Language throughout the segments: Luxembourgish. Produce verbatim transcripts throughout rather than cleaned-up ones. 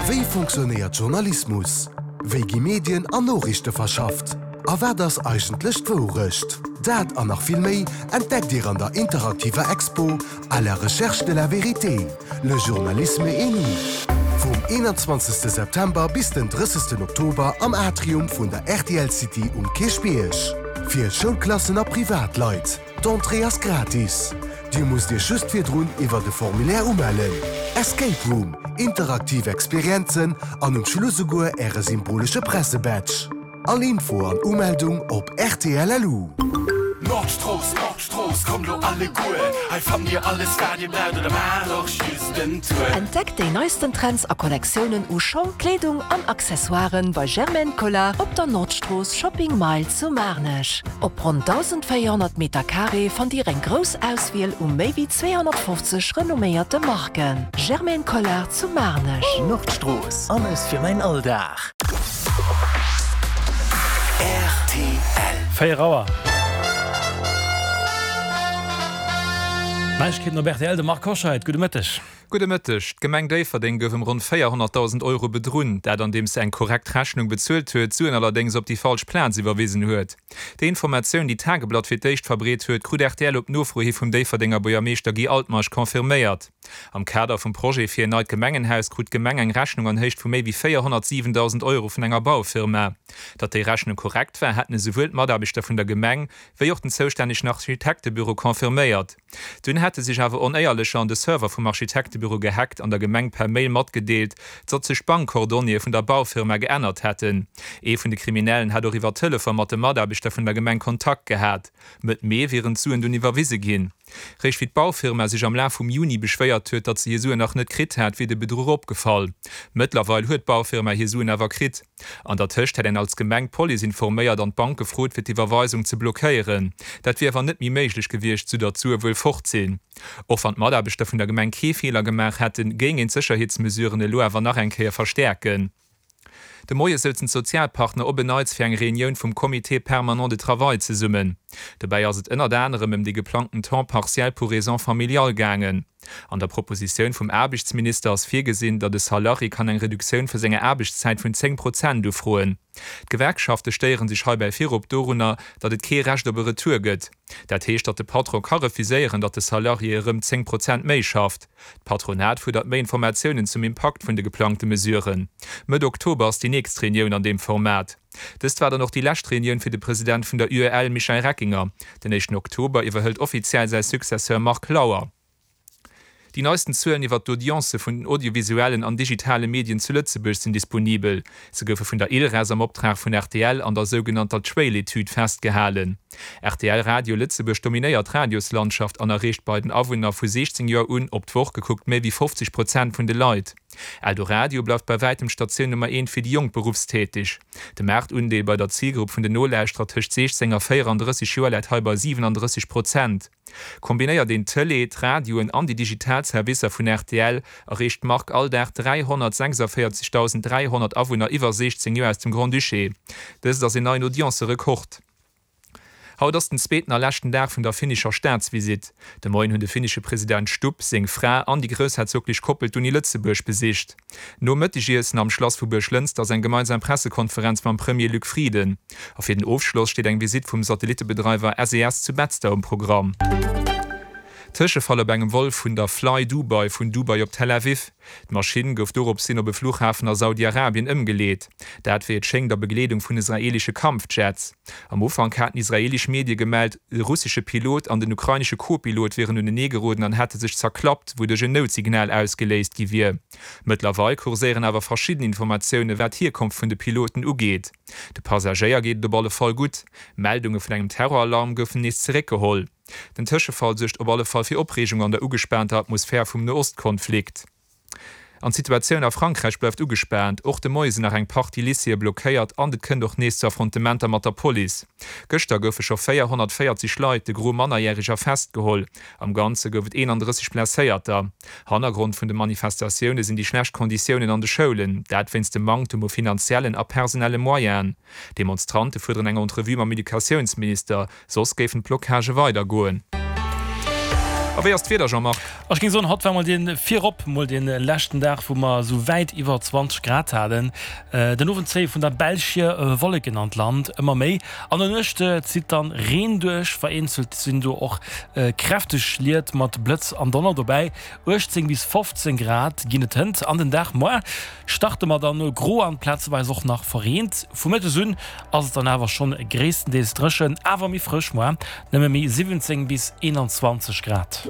Wéi funktionéiert Journalismus? Wéi gi Medien an Noriichte verschafft? A wat ass eigentlech d'Wourecht? Dat an nach vill méi entdeckt Dir an der interaktiver Expo À la recherche de la vérité, le journalisme et nous. Vum eenanzwanzegste September bis den drëssegsten Oktober am Atrium vun der R T L City um Kierchbierg. Fir Schoulklassen a Privatleit. D'Entrée ass gratis. Dir musst Iech just virdrun iwwer de Formulaire umellen. Escape Room, interaktiv Experienzen an um Schluss esouguer Äre symbolesche Pressebadge. All Info an Umeldung op R T L L U. Nordstrooss, Nordstrooss, kommt lo alleguer. Hei fannt dir alles wat dir braucht oder maacht och just den Tour. Entdeckt déi neisten Trends a Kollektiounen u Schong, Kleedung an Accessoiren bei Germaine Collard op der Nordstrooss Shopping Mile zu Maarnech. Op ronn dausendvéierhonnert Meter Carré fannt dir eng grouss Auswiel u méi wéi zweehonnertfofzeg renomméierte Marken. Germaine Collard zu Maarnech. Nordstrooss, alles fir mäin Alldag. R T L. Véier Auer. Neiegkeeten op R T L, de Marc Hoscheid, gudde Mëtteg. Gudde Mëtteg. D'Gemeng Déifferdeng gouf ëm ronn véierhonnertdausend Euro bedrunn, dat andeems se eng korrekt Rechnung bezuelt huet, d'Suen allerdéngs op déi falsch Plaz iwwerwisen huet. Déi Informatioun, déi d'Tageblatt fir d'éischt verbreet huet, krut R T L op Nofro hi vum Déifferdenger Buergermeeschter Guy Altmeisch confirméiert. Am Kader vum Projet fir en neit Gemengenhaus krut d'Gemeng eng Rechnung an Héicht vu méi wéi véierhonnertsiwendausend Euro vun enger Baufirma. Datt déi Rechnung korrekt war, hätten esouwuel d'Mataarbechter vun der Gemeng wéi och den zoustännegen Architektebüro confirméiert. Dunn hätte sech awer Onéierlecher an de Server vum Architektebüro gehackt an der Gemeng per Mail matgedeelt, datt sech d'Bankcoordonnéeë vun der Baufirma geännert hätten. Ee vun de Kriminellen hätt och iwwer Telefon mat de Mataarbechter vun der Gemeng Kontakt gehat. Mëtt Mee wieren d'Suen dunn iwwerwise ginn. Réischt wéi d'Baufirma sech am Laf vum Juni beschwéiert huet, datt se hir Suen nach net kritt hätt, wier de Bedruch opgefall. Mëttlerweil huet d'Baufirma hir Suen awer kritt. An der Tëscht hätt een als Gemeng d'Police informéiert an d'Bank gefrot, fir d'Iwwerweisung ze blockéieren. Dat wier awer net méi méiglech gewiescht, sou datt d'Sue wuel fort sinn. Och wann d'Mataarbechter vun der Gemeng kee Feeler gemaach hätten, géing een d'Sécherheetsmesuren elo awer nach eng Kéier verstäerken. De Moie souzen d'Sozialpartner op en Neits fir eng Reunioun vum Comité permanent de travail zesummen. Dobäi ass et ënnert anerem ëm déi geplangten Temps partiel pour raisons familiales gaangen. An der Propositioun vum Aarbechtsminister ass virgesinn, datt e Salarié kann eng Reduktioun vu senger Aarbechtszäit vun zéng Prozent ufroen. D'Gewerkschafte stéiere sech heibäi virop dorunner, datt et kee Recht op e Retour gëtt. Dat heescht, datt de Patron ka refuséieren, datt de Salarié erëm zéng Prozent méi schafft. D'Patronat fuerdert méi Informatiounen zum Impakt vun de geplangte Mesuren. Mëtt Oktober ass déi nächst Reunioun an deem Format. Dëst war dann och déi lescht Reunioun fir de President vun der U E L Michel Reckinger. Den éischten Oktober iwwerhëlt offiziell säi Successeur Marc Lauer. Déi neisten Zuelen iwwer d'Audiencë vun den audiovisuellen an digitale Medien zu Lëtzebuerg sinn disponibel. Se goufe vun der ILReS am Optrag vun R T L an der sougenannter Trail-Etüd festgehalen. R T L Radio Lëtzebuerg dominéiert d'Radioslandschaft an erreecht bei den Awunner vu siechzéng Joer un op d'Woch gekuckt méi wéi fofzeg Prozent vun de Leit. Eldoradio bleift bei wäitem d'Statioun Nummer eent fir déi jonk Beruffstäteg. De Maartundeel bei der Zilgrupp vun den Nolauschterer tëscht siechzéng a véierandrësseg Joer läit hei bei siwenandrësseg Prozent. Kombinéiert een d'Tëlee, d'Radioen an déi digital Servicer vun R T L, erreecht d'Mark all Dag dräihonnertsechsundvéierzegdausend dräihonnert Awunner iwwer siechzéng Joer aus dem Grand-Duché. Dëst ass en neien Audience-Rekord. Haut ass den zweeten a leschten Dag vun der finnescher Staatsvisitt. De Moien hunn de finnesche President Stubb, seng Fra an déi groussherzoglech Koppel d'Uni Lëtzebuerg besicht. Nom Mëttegiessen am Schlass vu Buerglënster ass eng gemeinsam Pressekonferenz mam Premier Luc Frieden. A fir den Ofschloss steet eng Visitt vum Satellittebedreiwer S E S zu Betzder um Programm. Tëschefall op engem Vol vun der Fly Dubai vun Dubai op Tel Aviv. D'Maschinn gouf doropshin op e Fluchhafen a Saudi-Arabien ëmgeleet. Dat wéi et schéngt a Begleedung vun israeelesche Kampfjets. Am Ufank haten israeelesch Medie gemellt, e russesche Pilot an den ukrainesche Co-Pilot wieren uneneegeroden an hätte sech zerklappt, wouduerch en Noutsignal ausgeléist gi wier. Mëttlerweil kurséieren awer verschidden Informatioune wat d'Hierkonft vun de Piloten ugeet. De Passagéier geet et op alle Fall gutt. Meldunge vun engem Terroralarm goufen nees zeréckgeholl. Den Tëschefall suergt op alle Fall fir Opreegung an der ugespaanter Atmosphär vum Noostkonflikt. An d'Situatioun a Frankräich bleift ugespaant. Och de Moie sinn nach eng Partie Lycéeë blockéiert an et kënnt och nees zu Affrontementer mat der Police. Gëschter goufe scho véierhonnertvéierzeg Leit, de Gros Mannerjäreger, festgeholl. Am Ganze gouf et eenandrësseg Blesséierter. Hannergrond vun de Manifestatioune sinn déi schlecht Konditiounen an de Schoulen, dat wéinst dem Manktem u finanziellen a personelle Moyenen. D'Demonstrante fuerderen eng Entrevue mam Educatiounsminister, soss géifen d'Blockagë weidergoen. A wéi ass d'Wieder, Jean-Marc? Ech géing soen, haut war mol dee virop mol dee leschten Dag, wou mer esou wäit iwwer zwanzeg Grad haten. Den Owend zéie vun der Belsch hier Wolleken an d'Land, ëmmer méi. An der Nuecht zitt dann Reen duerch, vereenzelt sinn do och kräfteg Schliet mat Blëtz an Donner dobäi. uechtzéng bis fofzéng Grad ginn et hënt an den Dag. Moar starte mer dann gro an plazeweis och nach verreent. Vu Mëttes un ass et dann awer schonn gréisstendeels dréchen, awer méi frësch moar, nëmme méi siwwenzéng bis eenanzwanzeg Grad.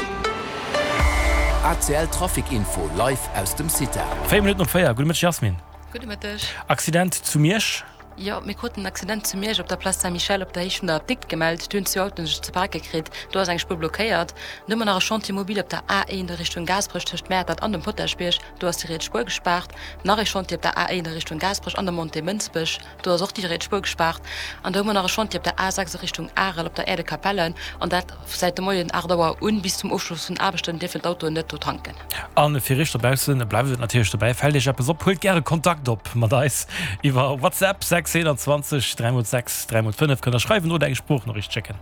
A C L Trafic Info live aus dem CITA. Véier Minutten op véier. Gudde Mëtteg Jasmin. Gudde Mëtteg. Accident zu Miersch. Jo, mir kruten en Accident zu Miersch op der Place Saint-Michel op der Héicht vun der Apdikt gemellt. Do hunn zwee Autoen sech ze pake kritt. Do ass eng Spuer blockéiert. Dann hu mer nach e Chantier mobile op der A eent a Richtung Gaasperech tëscht Mäertert an dem Potaschbierg. Do ass déi riets Spuer gespaart. Nach ee Chantier op der A eent a Richtung Gaasperech an der Montée Mënsbech. Do ass och déi riets Spuer gespaart. An da hu mer nach e Chantier op der A sechs a Richtung Arel op der Aire de Capellen. An dat säit de Moien aacht Auer un. Bis zum Ofschloss vun den Aarbechten dierfen d'Autoen net do tanken. A fir iech dobaussen bleift et natierlech dobäi. Fält iech eppes op, huelt gäre Kontakt op mat eis iwwer WhatsApp sechs einundzwanzeg dräi mol sechs dräi mol fënnef kënnt der schreiwen oder eng Sproochnoriicht schécken.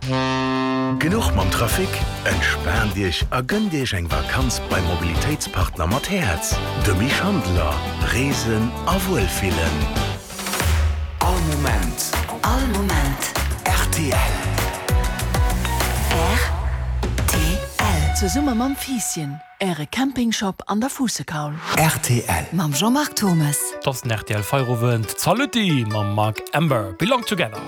Genuch mam Trafic? Entspaant Iech a gënnt Iech eng Vakanz beim Mobilitéitspartner mat Häerz, dem Misch Handler. Reesen a Wuelfillen. All Moment. All Moment. R T L. R T L. Zesumme mam Fiisschen, Äre Campingshop an der Fuussekaul. R T L. Mam Jean-Marc Thomes. 't ass den R T L Feierowend. Zalutty mam Mark Amber, Belong Together.